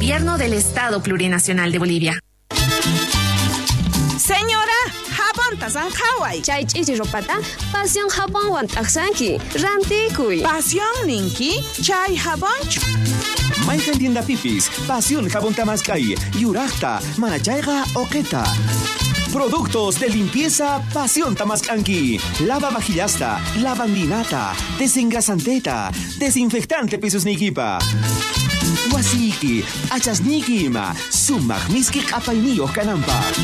Gobierno del Estado Plurinacional de Bolivia. Señora, jabonta zanjaway. Chay ch'ichi ropata Pasión jabonwan t'aqsanki. Rantikuy. Pasión ninki, chay jabonchu. Mayqan tiendapipis, Pasión jabón tamaskay, yuraqta, manachayqa oqeta. Productos de limpieza Pasión Tamascanqui. Lava vajillasta, lavandinata, desengrasanteta, desinfectante pisusnikipa. Wasiki, achasniki ima, sumaq miski q'apayniyuq kananpaq.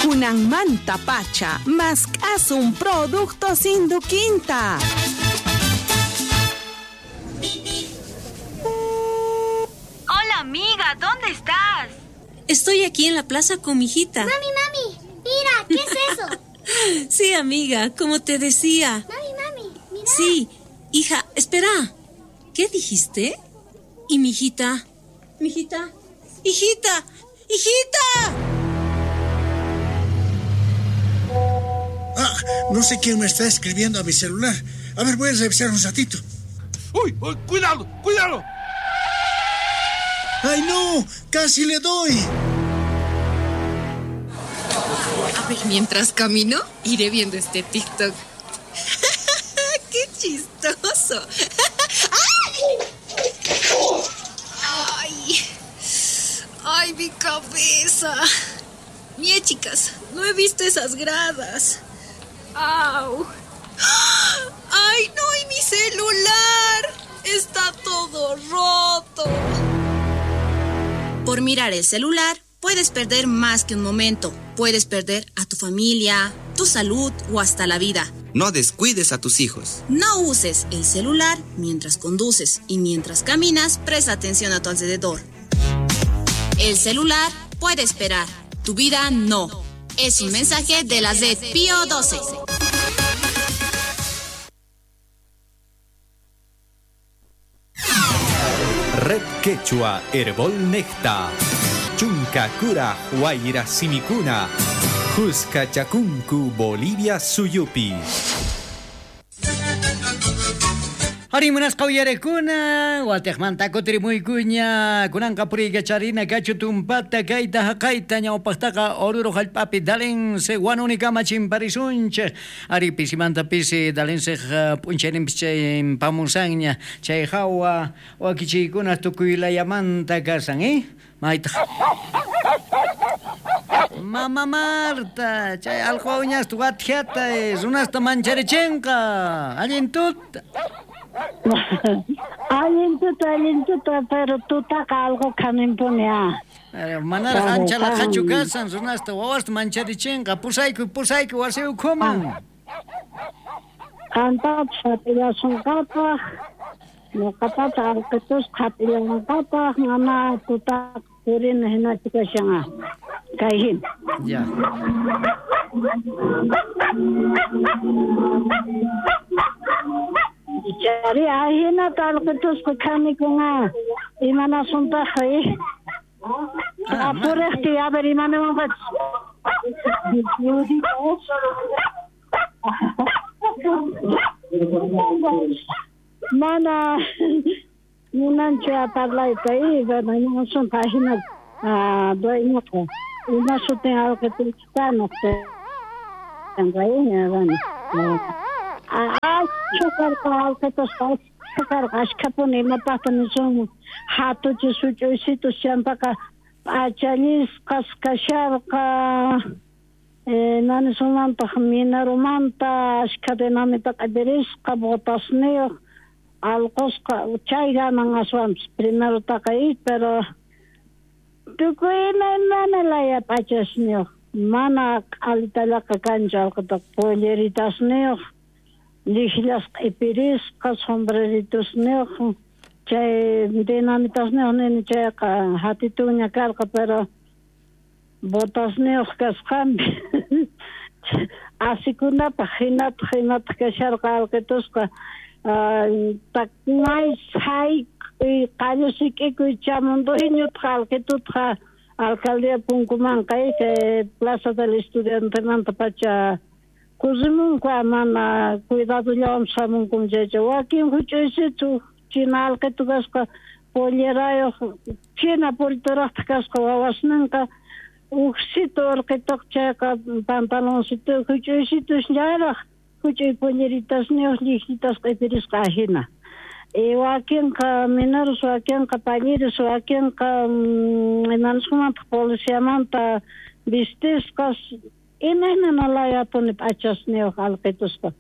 Kunanmanta pacha, mask'asun productos Induquinta. Hola amiga, ¿dónde estás? Estoy aquí en la plaza con mi hijita. Mami, mami, mira, ¿qué es eso? Sí, amiga, como te decía. Mami, mami, mira. Sí, hija, espera. ¿Qué dijiste? ¿Y mi hijita? ¿Mi hijita? ¡Hijita! ¡Hijita! Ah, no sé quién me está escribiendo a mi celular. A ver, voy a revisar un ratito. ¡Uy! uy cuidado! ¡Cuidado! ¡Ay, no! ¡Casi le doy! A ver, mientras camino, iré viendo este TikTok. ¡Qué chistoso! ¡Ay! ¡Ay, mi cabeza! Mie, chicas, no he visto esas gradas. ¡Au! ¡Ay, no! ¡Y mi celular! ¡Está todo roto! Por mirar el celular, puedes perder más que un momento. Puedes perder a tu familia, tu salud o hasta la vida. No descuides a tus hijos. No uses el celular mientras conduces y mientras caminas, presta atención a tu alrededor. El celular puede esperar, tu vida no. Es un mensaje de la Z Pío 12. Red Quechua Herbol Necta. Chunka Kura Huayra Simikuna. Jusca Chakunku Bolivia Suyupi. Harimunasqa uyarekuna, watejmanta kutirimuykuña, kunanqa puriykacharina kachu tumpata kayta haqayta ñawpaqtaqa Oruro hallp'api dalense wanunikama chimparisunchik. Ari pisimanta pisi dalense p'unchayninpis chay pamusanña, chay hawa wakichiykuna tukuylayamanta kasan, ¿eh? Maytaq. Mama Marta, chay allqu uñasta wathiata runasta mancharichinqa, allin tuta. Allin tuta, pero tutaqa algo kanimpuni ah. Manaraq ancha laqhachu kasan runasta wawasta mancharichinqa, pusaykuy wasi ukhuman. Qantapas hap'illasunqapaq, ñuqatapas allqitusqa hap'illawanqapaq, mana tutaqa purina hinachu kashan ah. Kay hina. Ya. Chari ahinata allqitusqa khanikun ah. Imanasuntaq eh. Apurejti, a ver, imaniwanqachis. Mana munanchu parlayta eh, bueno, imanasuntaq ahina dueñoqa. Ima sutin allqitusqa nuqta. Bueno. Achka allqitusqa karqa ashkhapuni imapaqta nisunman hatuchis huch'uysitus champaqa p'achallisqas kasharqa nanisunmantaq minarumanta ashkha dinamita q'ipirisqa botasniyuq allqusqa chay ganan aswanpis primerotaqa pero tukuy imaymana laya p'achasniyuq mana q'alitallaqa kanchu allqutaqa polleritasniyuq llijllasqa q'ipirisqa sombreritosniyuq chay dinamitasniyuq nini chayqa hatituña karqa pero botasniyuq kasqanpi asikunapaq hinataq imataq kasharqa allqitusqa may sayk'uy qallu sik'ikuy chamunduñutaq allqitutqa alcaldía punkumanqa kay Plaza del Estudiantemanta pacha kusimunku mana cuidadollawan hamunkum chaycha wakin huch'uysitu china allqitu kasqa pollerayoj china puriturajtaj kasqa wawasninqa ujsito urqitoq chayqa pantaloncito juch'uysitusllaraj juch'uy polleritasniyoj llijllitas q'ipirisqa ajina. Wakinqa mineros, wakinqa talleres, wakinqa imanisqamanta policiamanta vistisqas imaymana layapuni p'achasniyoj alqitusqa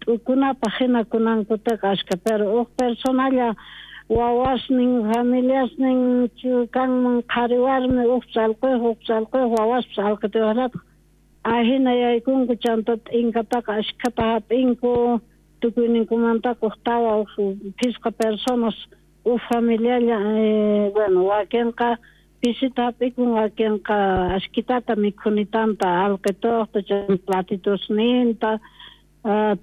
t'ukunapaj hina kunankutaqa ashka, pero uj personalla wawasnin familiasnin kanman qhari warmi ujpis alquyoj ujpis alquyoj wawaspis alqituyojllataj ajina yaykunku chanta t'inkataqa ashkhata hap'inku tukuyninkumantaqa uj tawa uj phisqa personas uj familialla bueno wakinqa pisita hap'ikun wakinqa ashkitata mikhunitanta alqituqta chanta platitusninta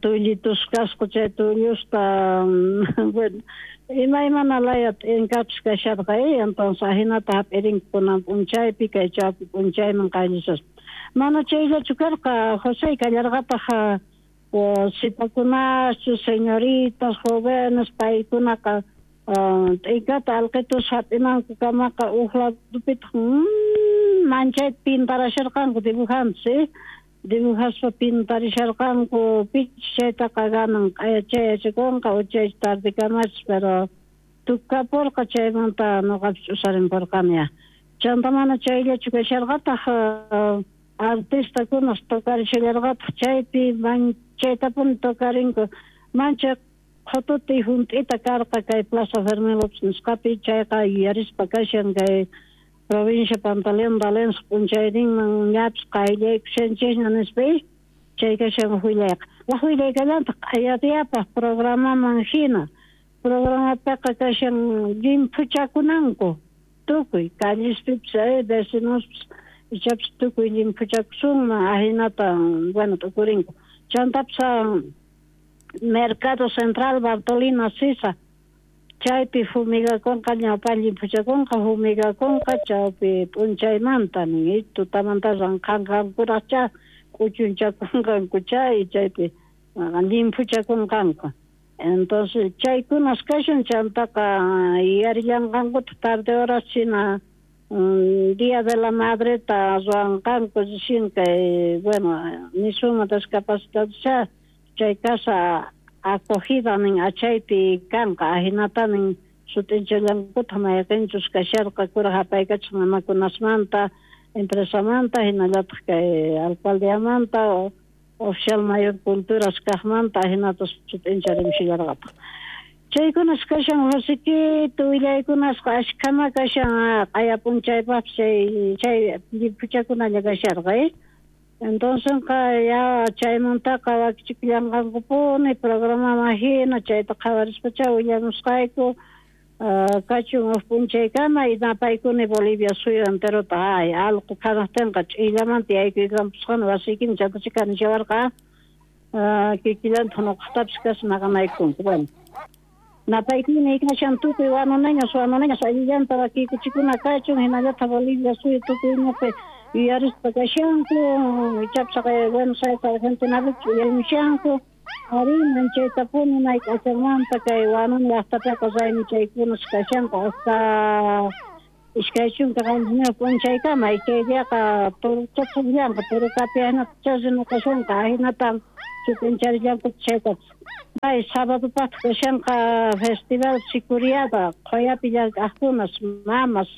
tullitus kasqa chay tullusta bueno imaymana laya t'inkapis kasharqa entonces ajinata hap'irinku kunan p'unchaypi kay chawpi p'unchayman qayllisaspa. Mana chayllachu karqa José kallarqataq sipakunaschu señoritas jóvenes paykunaqa t'inkata alqitus hap'inankukamaqa uj ladupitaq manchayta pintarasharqanku dibujantes dibujaspa pintarisharqanku pichus chaytaqa ganan q'aya yachakunqa o chay tardekamachis pero tukapurqa chaymanta noqapis ch'usarinpurqani ya. Chanta mana chayllachu kasharqataq artistakunas tocarishallarqataq chaypi chaytapuni tocarinku manchay qhututi junt'ita karqa kay Plaza Fermín López nisqapi chayqa yuyarispa kashan kay provincia Pantaleón Valencia p'unchayninman ñapis qayllaykushanchikña nispa chay kashan willayqa. Waj willaykallantaq q'ayadiyapaj programaman hina programapiqa kashan llimphuchakunanku tukuy callespipis vecinospis ichapis tukuy llimphuchakusunman ajinata bueno t'ukurinku. Chantapis Mercado Central Bartolina Sisa chaypi fumigakunqa ñawpa llimphuchakunqa fumigakunqa chawpi p'unchaymanta nin tutamanta ranqanqankuraqcha k'uchunchakunqanku chay chaypi llimphuchakunqanku. Entonces chaykunas kashan chantaqa yuyarillanqankutaq tarde horas china Día de la Madreta ruwanqanku recién kay bueno nisunman discapacitados chay casa acogida nin achaypi kanqa ajinata nin sut'inchallankutaq mayqinchus kasharqa kuraj apaykachaq mamakunasmanta empresamanta hinallataq kay alcaldiamanta oficial mayor culturas kaqmanta ajinata sut'incharimshallarqataq. Chaykunas kashan Josequito willaykunasqa ashkhama kashan q'aya p'unchaypaqpis chay llimphuchakunalla kasharqa entonces ya chaymantaqa wakichikullanqankupuni programaman hina chayta qhawarispacha willamusqayku kachun uj p'unchaykama y napaykuni Bolivia suyu enterota ay allqu khanaqtinqa ch'illamanta yaykuykanpusqani wasiykini chantachá kanishawarqa kikillantaq nuqaqtapis kashan maqanaykunku bueno. Napaykuni kashan tukuy wanuneños wanuneños allillanta wakiykuchikuna kachun hinallataq Bolivia suyu tukuyñapi yuyarispa kashanku ichapis Buenos Aires Argentinapi uyarimushanku ari manchaytapuni may k'achanmanta kay Huanuni llaqtapiqa raymi chaykunas kashanqa hasta 27 p'unchaykama chay diaqa turuchapullanqa turukapi ahinata rinakashanqa ahinata sut'incharillanku chaytapas. May sábadopaqtaq kashanqa festival Sicuriada qhuyapi llank'aqkunas mamas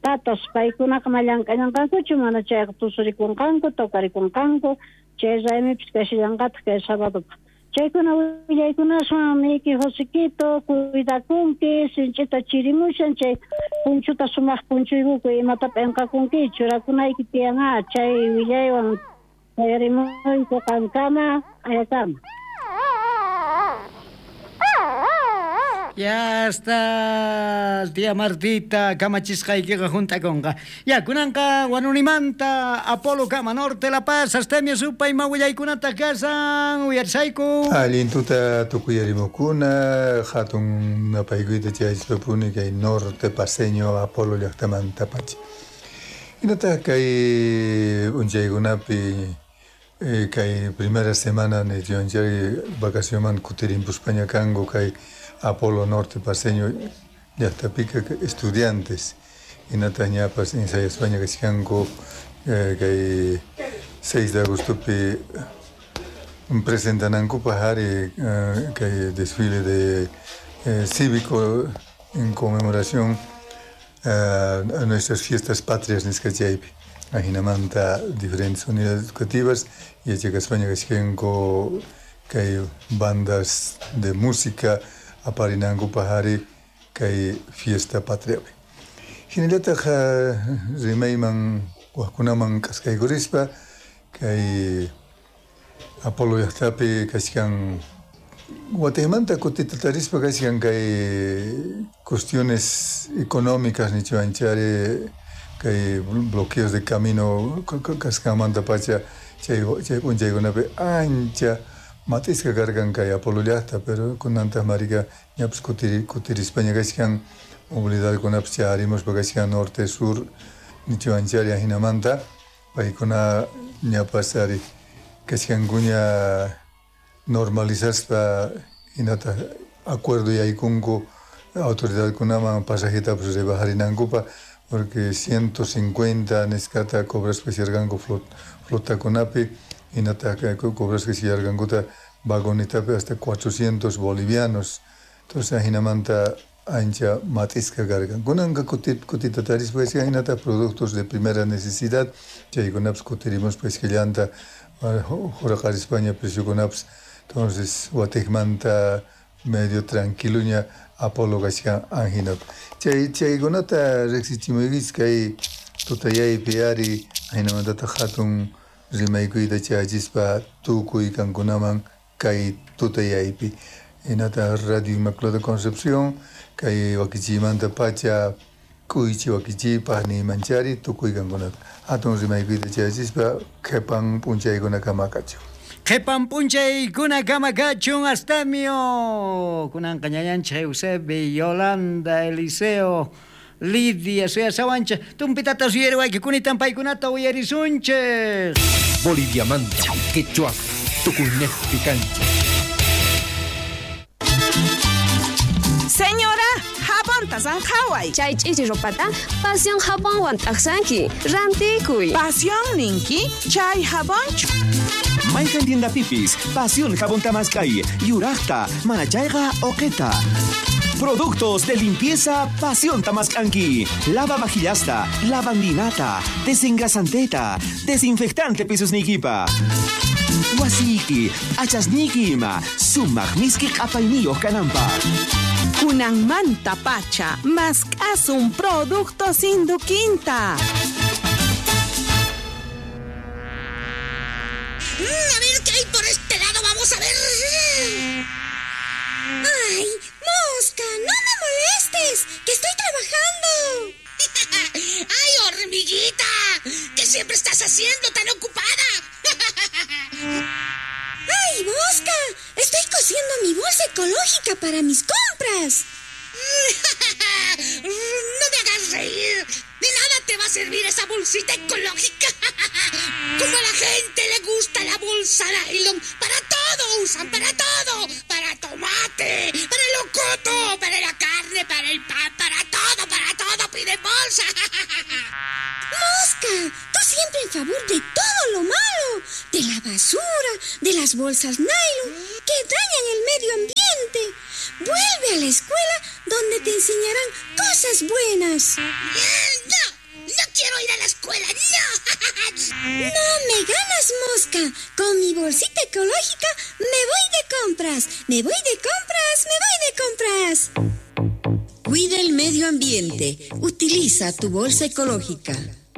tatas paykunaqa ma llank'allanqankuchu mana chayqa tusurikunqanku tocarikunqanku chay raymipis kashallanqataq kay sábadopaq. Chaykuna willaykunaswan niyki Josequito cuidakunki sinch'ita chirimushan chay punchuta sumaq punchuykuku imata p'inqakunki churakunayki tiyan chay willaywan chayarimuyku qankama ayakama. Ya está, tía Martita, kamachisqaykiqa junt'akunqa. Ya, kunanqa Huanunimanta, Apolo Kama Norte, La Paz, Astemio supay mawillaykunata kasan, uyarisayku. Allin tuta tukuyarimukuna, hatun napaykuyta chayachpapuni kay Norte Paseño Apolo llaqtamanta pacha. Hinataq kay p'unchaykunapi kay primera semana nichunchari vacacionman kutirinpuspaña kanku kay Apolo Norte Paseño llaqtapika estudiantes hinataq ñapas ensayaspaña kachkanku kay 6 de agostopi presentanankupaq ari kay desfile de cívico en conmemoración a nuestras fiestas patrias nisqa chaypi. Ajinamanta diferentes unidades educativas yachakaspaña kachkanku kay bandas de música aparinankupaq ari kay fiesta patriapi. Hinallataq rimayman wajkunaman k'askaykurispa kay Apolo llaqtapi kachkan watejmanta kutita tarispa kachkan kay cuestiones económicas nichuanchari kay bloqueos de camino kasqanmanta pacha chay p'unchaykunapi ancha matisqa karqan kay Apolo llaqta, pero kunantaq marika ñapis kutirispaña kachkan movilidadkunapas chayarimuspa kachkan norte sur nichuanchari ajinamanta paykuna ñapas ari kachkankuña normalizaspa hinataq acuerdo yaykunku autoridadkunaman pasajetapas rebajarinankupa porque 150 nisqata cobraspa sirqanku flotakunapi hinataq cobraspa sirqankuta vagonetapi hasta 400 bolivianos. Entonces ajinamanta ancha matisqa karqan. Kunanqa kutita tarispa hinataq productos de primera necesidad chaykunapas kutirimuspa iskallanta juraqarispaña preciokunapas. Entonces watejmanta medio tranquiluña Apolo kachkan ajinapi. Chaykunata riqsichimuykichis kay tutayaypi ari ajinamantataq hatun rimaykuyta chayachispa tukuy kankunaman kay tutayaypi. Hinataq Radio Inmaculada Concepción kay wakichiymanta pacha k'uychi wakichiypaq niymanchari tukuy kankunata. Hatun rimaykuyta chayachispa qhipan p'unchaykunakama kachun. Qhipan p'unchaykunakama kachun Astemio. Kunanqa ñañanchik Eusebio, Yolanda, Eliseo, Lidia, suyasawanchik tumpitata suyariwayki kunitan paykunata uyarisunchik. Boliviamanta, quechua, tukuynejpi kanchik. Señora, jabonta sanqhaway. Chay ch'ichi ropata Pasión jabonwan t'aqsanki. Rantikuy. Pasión ninki chay jabonchu. Mayqan tiendapipis Pasión jabonta mask'ay yuraqta mana chayqa uqita. Productos de limpieza Pasión tamask'anki. Lava vajillasta, lavandinata, desengrasanteta, desinfectante pisusniykipa. Wasiyki, achasniyki ima, sumaq miski q'apayniyuq kananpaq. Kunanmanta pacha, mask'asun productos Induquinta. A ver qué hay por este lado, vamos a ver. ¡Ay, mosca! ¡No me molestes! ¡Que estoy trabajando! ¡Ay, hormiguita! ¿Qué siempre estás haciendo tan ocupada? ¡Ay, mosca! Estoy cosiendo mi bolsa ecológica para mis compras. ¡No me hagas reír! ¡De nada te va a servir esa bolsita ecológica! Como a la gente le gusta la bolsa nylon, para todo usan, para todo. Para tomate, para el locoto, para la carne, para el pan, para todo piden bolsa. ¡Mosca! Tú siempre en favor de todo lo malo, de la basura, de las bolsas nylon, que dañan el medio ambiente. Vuelve a la escuela donde te enseñarán cosas buenas. ¡No! ¡No quiero ir a la escuela! ¡No! ¡No me ganas, mosca! Con mi bolsita ecológica me voy de compras. ¡Me voy de compras! ¡Me voy de compras! Cuida el medio ambiente. Utiliza tu bolsa ecológica.